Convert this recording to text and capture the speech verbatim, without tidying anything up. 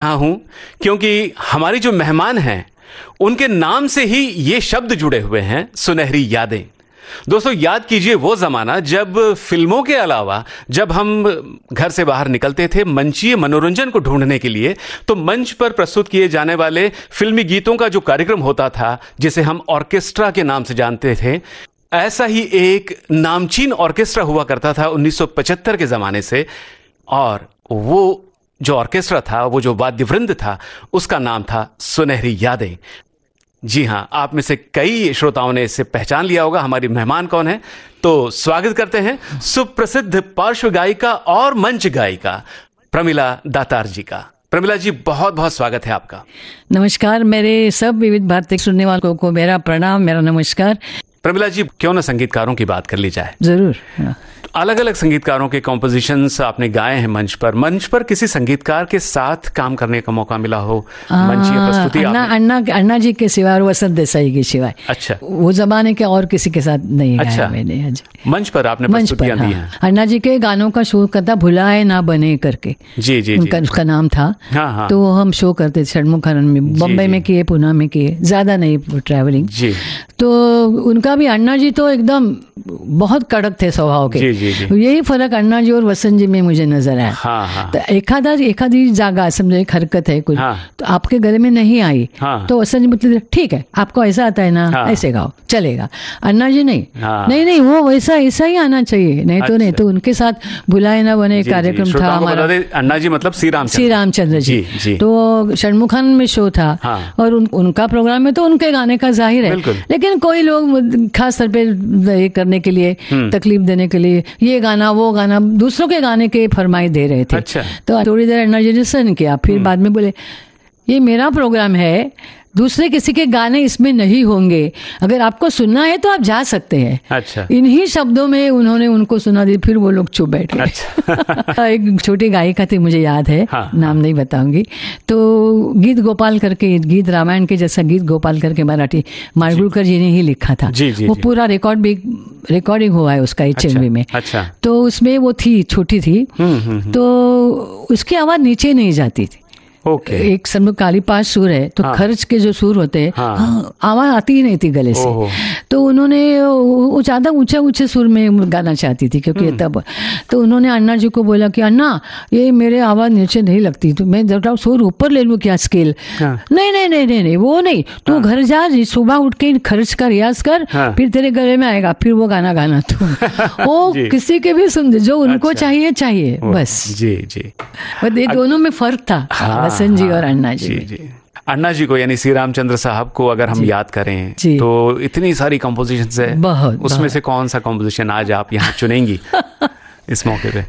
रहा हूं, क्योंकि हमारी जो मेहमान हैं, उनके नाम से ही ये शब्द जुड़े हुए हैं, सुनहरी यादें। दोस्तों, याद कीजिए वो जमाना, जब फिल्मों के अलावा जब हम घर से बाहर निकलते थे मंचीय मनोरंजन को ढूंढने के लिए, तो मंच पर प्रस्तुत किए जाने वाले फिल्मी गीतों का जो कार्यक्रम होता था, जिसे हम ऑर्केस्ट्रा के नाम से जानते थे, ऐसा ही एक नामचीन ऑर्केस्ट्रा हुआ करता था उन्नीस सौ पचहत्तर के जमाने से। और वो जो ऑर्केस्ट्रा था, वो जो वाद्य वृंद था, उसका नाम था सुनहरी यादें। जी हाँ, आप में से कई श्रोताओं ने इसे पहचान लिया होगा। हमारी मेहमान कौन है, तो स्वागत करते हैं सुप्रसिद्ध पार्श्व गायिका और मंच गायिका प्रमिला दातार जी का। प्रमिला जी, बहुत बहुत स्वागत है आपका। नमस्कार, मेरे सब विविध भारती सुनने वालों को मेरा प्रणाम, मेरा नमस्कार। प्रमिला जी, क्यों ना संगीतकारों की बात कर ली जाए। जरूर। हाँ। अलग अलग संगीतकारों के कॉम्पोजिशंस आपने गाए हैं मंच पर। मंच पर किसी संगीतकार के साथ काम करने का मौका मिला हो, मंचीय आ, प्रस्तुति अण्णा आपने? अण्णा अण्णा जी के सिवा और वसंत देसाई के सिवाय। अच्छा। वो जमाने के और किसी के साथ नहीं गाया अच्छा। मैंने। हाँ जी। मंच पर आपने मंच पर, प्रस्तुतियां दी हाँ। हैं। अण्णा जी के गानों का शो करता, भुलाए ना बने करके जी जी जी। उनका उसका नाम था। हाँ हाँ। तो हम शो करते थे षणमुखानंद में, बॉम्बे जी। में किए, पुणे में किए, ज्यादा नहीं ट्रैवलिंग। जी। तो उनका भी, अण्णा जी तो एकदम बहुत कड़क थे स्वभाव के। जी, जी, जी। यही फर्क अण्णा जी और वसंत जी में मुझे नजर आया। हाँ हाँ। तर एखादा एखादी जागा, समझो एक हरकत है कुछ, हाँ। तो आपके गले में नहीं आई, हाँ। तो वसंत जी बोलते थे, ठीक है, आपको ऐसा आता है ना, हाँ। ऐसे गाओ, चलेगा। अण्णा जी नहीं, हाँ। नहीं नहीं, वो वैसा ऐसा ही आना चाहिए, नहीं तो नहीं। अच्छा। तो उनके साथ भुलाए ना बने जी, जी, कार्यक्रम था श्रोताओं को हमारा। बता दें, अण्णा जी मतलब श्री रामचंद्र। श्री रामचंद्र जी। जी जी। तो षणमुखानंद में शो था, हाँ। और उन, उनका प्रोग्राम में तो उनके गाने का जाहिर है, बिल्कुल। लेकिन कोई लोग खास तौर पे ये करने के लिए, हम्म। तकलीफ देने के लिए ये गाना वो गाना, दूसरों के गाने के फरमाइश दे रहे थे। अच्छा। तो थोड़ी देर अण्णा जी ने सहन किया, फिर हम्म। बाद में बोले, ये मेरा प्रोग्राम है, दूसरे किसी के गाने इसमें नहीं होंगे, अगर आपको सुनना है तो आप जा सकते हैं। अच्छा। इन्हीं शब्दों में उन्होंने उनको सुना दी, फिर वो लोग चुप बैठ गए। अच्छा। एक छोटी गायिका थी, मुझे याद है, हाँ, नाम नहीं बताऊंगी। तो गीत गोपाल करके, गीत रामायण के जैसा गीत गोपाल करके मराठी, माडगुळकर जी ने ही लिखा था। जी, जी, वो जी। पूरा रिकॉर्ड भी, रिकॉर्डिंग हुआ है उसका एच एम वी में। अच्छा। तो उसमें वो थी, छोटी थी, हम्म हम्म हम्म। तो उसकी आवाज नीचे नहीं जाती थी। ओके। एक समझो काली पांच सुर है, तो हाँ। खर्च के जो सुर होते हैं, हाँ। हाँ, आवाज आती ही नहीं थी गले से। ओहो। तो उन्होंने वो वो ज्यादा ऊंचा ऊंचे सुर में गाना चाहती थी, क्योंकि हम्म। तब तो उन्होंने अण्णा जी को बोला कि अण्णा, ये मेरे आवाज नीचे नहीं लगती, तो मैं जरा सुर ऊपर ले लूँ क्या, स्केल? हाँ। नहीं नहीं नहीं नहीं नहीं, वो नहीं, तू घर जा जी, सुबह उठ के खर्च का रियाज कर, हाँ। फिर तेरे गले में आएगा, फिर वो गाना गाना तू। वो जी। किसी के भी सुन, जो उनको अच्छा। चाहिए चाहिए, ओह, बस। जी जी। बस ये दोनों में फर्क था, हाँ, वसंत जी हाँ, और अण्णा जी जी में। जी। अण्णा जी को, यानी श्री रामचंद्र साहब को अगर हम याद करें, जी। तो इतनी सारी कॉम्पोजिशन है, बहुत, उसमें बहुत। से कौन सा कॉम्पोजिशन आज आप यहाँ चुनेंगी इस मौके पे?